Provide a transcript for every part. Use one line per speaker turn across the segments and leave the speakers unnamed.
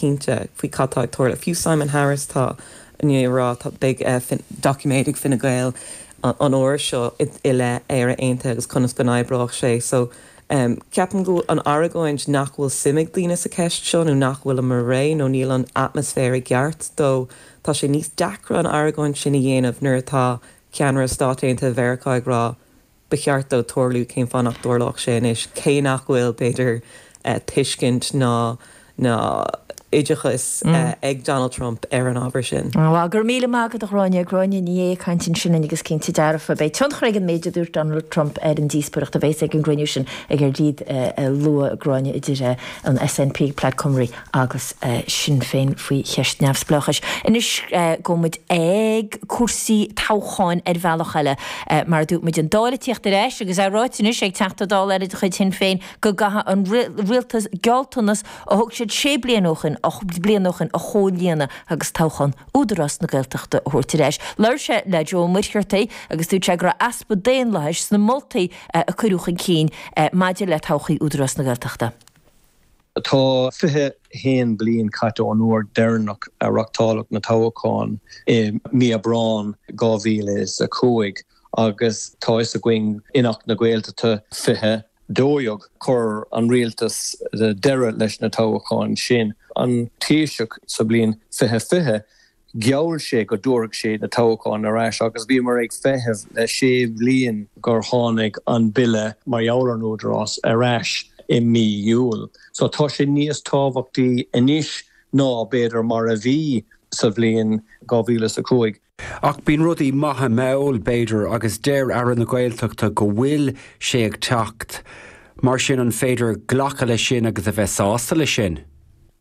Cinnte faoi cad tá ag tarlú. Fiú Simon Harris tá i ndiaidh a rá tá beidh doiciméad ag Fine Gael an uair seo i leith Éire Aontaithe agus conas go n-oibreodh sé. So ceapaim go bhfuil an argóint nach bhfuil suim ag daoine sa cheist seo nó nach bhfuilimid réidh nó níl an atmaisféar i gceart dó, tá sé níos deacra an argóint sin a dhéanamh nuair atá ceannaire Stáit Aontaithe Mheiriceá ag rá Ba cheart dó tarlú, cén fáth nach dtarlódh sé anois, cé nach bhfuil, b'fhéidir, tuiscint ná ná oideachas ag Donald Trump ar an ábhar sin.
Bhuel, go raibh míle maith agat, a Ghráinne. Gráinne Ní Aodha ag caint ansin linn agus cinnte dearfa, beidh tionchar ag an méid a dúirt Donald Trump ar an díospóireacht a bheas ag an gcruinniú sin i gCaerdydd a luaigh Gráinne idir an SNP, Plaid Cymru agus Sinn Féin faoi cheist neamhspleáchais. Anois gabhfaidh muid ag cúrsaí toghcháin ar bhealach eile. Mar a dúirt muid, an Dáil ag tíocht ar ais agus é ráite anois ag Teachta Dála eile de chuid Shinn Féin go gcaithfidh an rialtas gealltanas a thug siad sé bliana ó shin bliana ó shin a chomhlíonadh agus toghchán Údarás na Gaeltachta a thabhairt ar ais. Labhair sé le Joe Ó Muircheartaigh agus dúirt sé go raibh easpa daonlathais sna moltaí a cuireadh chun cinn maidir le todhchaí Údarás na Gaeltachta.
Tá 21 bliain caite ón uair deireanach a reáchtáladh na toghcháin i mí Aibreán 2005 agus tá fhios againn in Acht na Gaeltachta 2012 chuir an rialtas deireadh leis na toghcháin sin. An Taoiseach sa bhliain 2020 Gheall sé go dtabharfadh sé na toghcháin ar ais agus bhíomar ag feitheamh le sé bhliain gur tháinig an bille mar gheall ar an Údarás ar ais i mí Iúil. So tá sé níos tábhachtaí anois ná b'fhéidir mar a bhí sa bhliain 2005.
Ach bíonn rudaí maithe mall, b'fhéidir, agus deir Aire na Gaeltachta go bhfuil sé ag teacht. Mar sin an féidir glacadh leis sin agus a bheith sásta leis sin?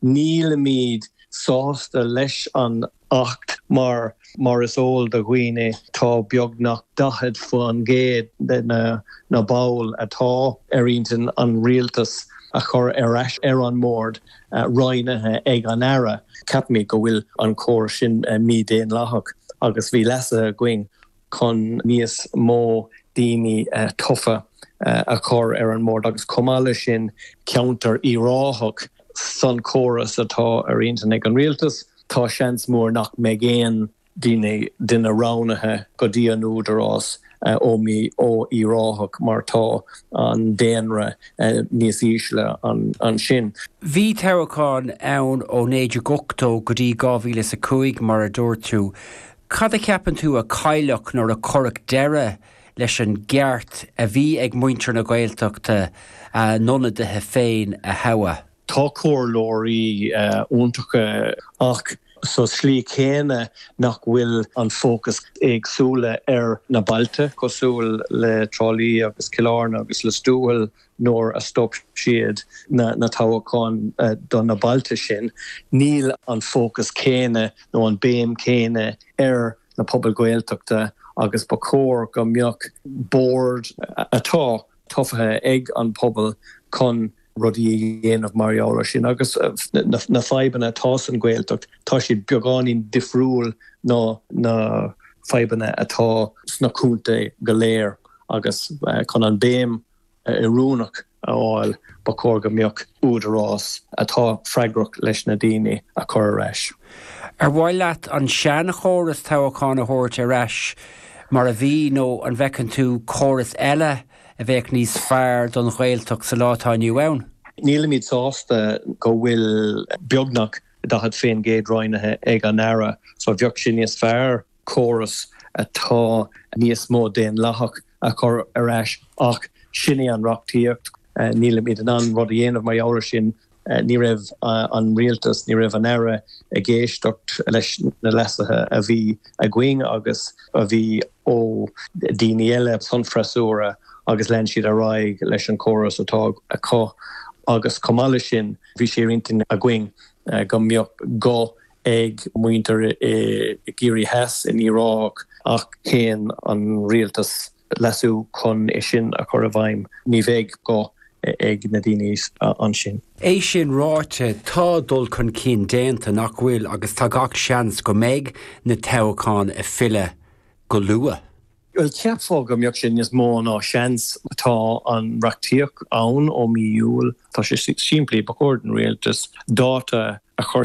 Nílimid sásta leis an Acht mar, mar is eol do dhaoine, tá beagnach 40% de na baill atá ar intinn an Rialtas a chur ar ais ar an mbord roghnaithe ag an Aire. Ceapaimid go bhfuil an córas sin mídhaonlathach agus bhí leasuithe againn chun níos mó daoine tofa a chur ar an mbord agus chomh maith leis sin ceantar Uíbh Ráthach san córas atá ar intinn ag an rialtas. Tá seans mór nach mbeidh aon daoine duine roghnaithe go dtí an údarás ó ó Uíbh Ráthach mar tá an daonra níos ísle ansin.
Bhí toghcháin ann ó 1980 go dtí 2005 mar a dúirt tú. Cad a cheapann tú a cailleadh nuair a cuireadh deireadh leis an gceart a bhí ag muintir na Gaeltachta a n-ionadaithe féin a thoghadh?
Tá comhairleoirí iontacha ach sa slí chéanna nach bhfuil an fócas éagsúla ar na bailte cosúil le Trá Lí agus Cill Airne agus Lios Tuathail nuair a stop siad na toghcháin do na bailte sin, níl an fócas céanna nó an béim céanna ar na pobail Ghaeltachta agus ba chóir go mbeadh bord atá tofa ag an pobal chun rudaí a dhéanamh mar gheall ar sin. Agus na fadhbanna atá san Ghaeltacht, tá siad beagáinín difriúil ná na fadhbanna atá sna contae go léir agus chun an béim oiriúnach a fháil, ba chóir go mbeadh údarás atá freagrach leis na daoine a chur ar ais.
Ar mhaith leat an seanchóras toghcháin a thabhairt ar ais mar a bhí nó an bhfeiceann tú córas eile a bheadh níos fearr don Ghaeltacht sa lá atá inniu ann?
Nílimid sásta go bhfuil beagnach 40% roghnaithe ag an Aire so bheadh sé níos fearr córas atá níos mó daonlathach a chur ar ais ach sin é an reachtaíocht. Nílimid in ann rud a dhéanamh mar gheall ar sin. Ní raibh an rialtas, ní raibh an Aire ag éisteacht leis na leasuithe a bhí againn agus a bhí ó daoine eile san freasúra agus lean siad ar aghaidh leis an chóras atá acu agus chomh maith leis sin bhí sé ar intinn againn go mbeadh guth ag muintir i gCiarraí Theas, in Uíbh Ráthach, ach shéan an rialtas leasú chun é sin a chur i bhfeidhm. Ní bheidh guth ag na daoine ansin.
É sin ráite, tá dul chun cinn déanta, nach bhfuil, agus tá gach seans go mbeidh na toghcháin ag filleadh go luath.
Bhuel, cheapfá go mbeadh sé níos mó ná seans. Tá an reachtaíocht ann ó mí Iúil. Tá sé simplí, ba chóir don rialtas dáta. a chur.